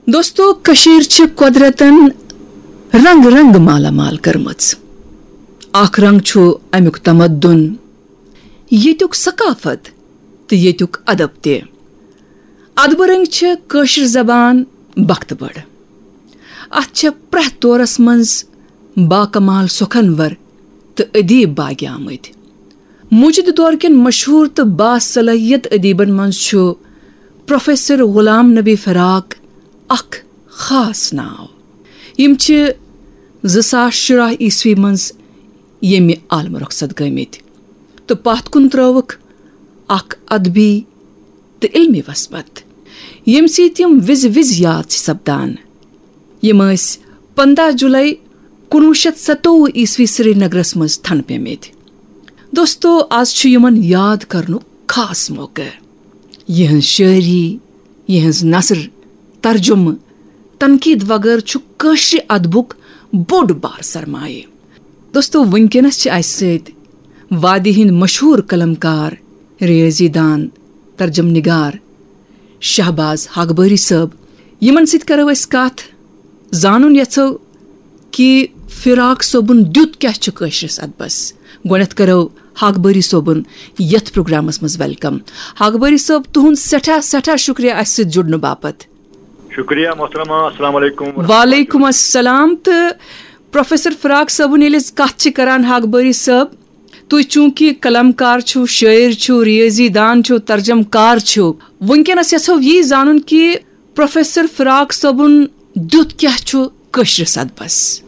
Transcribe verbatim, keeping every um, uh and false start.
دوستو، کٔشیٖر چھِ قۄدرتن رنگ رنگ مالا مال کٔرمٕژ۔ اکھ رنگ چھُ امیُک تمدُن، ییٚتیُک ثقافت تہٕ ییٚتیُک ادب تہِ۔ ادبہٕ رٔنگۍ چھِ کٲشِر زبان بختہٕ بٔڑ۔ اتھ چھےٚ پرٛٮ۪تھ دورس منٛز باکمال سۄکھنور تہٕ ادیب باگہِ آمٕتۍ۔ موجودٕ دور کٮ۪ن مشہوٗر تہٕ باصلٲحیت ادیبن منٛز چھُ پروفیسر غلام نبی فراق اکھ خاص ناو۔ یِم چھِ زٕ ساس شُراہ عیسوی منٛز ییٚمہِ عالمہٕ رۄخصت گٔمٕتۍ تہٕ پتھ کُن ترٲوٕکھ اکھ ادبی تہٕ علمی وسبت، ییٚمہِ سۭتۍ یِم وِزِ وِزِ یاد چھِ سپدان۔ یِم ٲسۍ پنٛداہ جُلے کُنوُہ شیٚتھ ستووُہ عیسوی سرینگرس منٛز تھنہٕ پیمٕتۍ۔ دوستو، آز چھُ یِمن یاد کرنُک خاص موقعہٕ۔ یِہنٛز شٲعری، یِہنٛز نثر، ترجمہٕ، تنقید وغٲرٕ چھُ کٲشرِ ادبُک بوٚڑ بار سرمایہِ۔ دوستو، وٕنکیٚنس چھِ اسہِ سۭتۍ وادی ہٕنٛدۍ مشہوٗر قلم کار، ریٲضی دان، ترجم نگار شہباز ہاگبٲری صٲب۔ یِمن سۭتۍ کرو أسۍ کتھ، زانُن یژھو کہِ فراق صٲبُن دیُت کیٛاہ چھُ کٲشرِس ادبس۔ گۄڈنٮ۪تھ کرو ہاگبٲری صٲبُن یتھ پروگرامس منٛز ویلکم۔ ہاگبٲری صٲب، تُہُنٛد سٮ۪ٹھاہ سٮ۪ٹھاہ شُکریہ اسہِ سۭتۍ جُڑنہٕ باپتھ۔ شُکریہ محترمہ، السلام علیکم ورحمۃ اللہ۔ وعلیکم السلام۔ تہٕ پروفیسر فراق صٲبُن ییٚلہِ أسۍ کتھ چھِ کران، ہاگبٲری صٲب، تُہۍ چوٗنٛکہِ قلم کار چھِو، شٲعر چھِو، ریٲضی دان چھِو، ترجم کار چھِو، وٕنکیٚنس یژھو یی زانُن کہِ پروفیسر فراق صٲبُن دیُت کیٛاہ چھُ کٲشرِس ادبس؟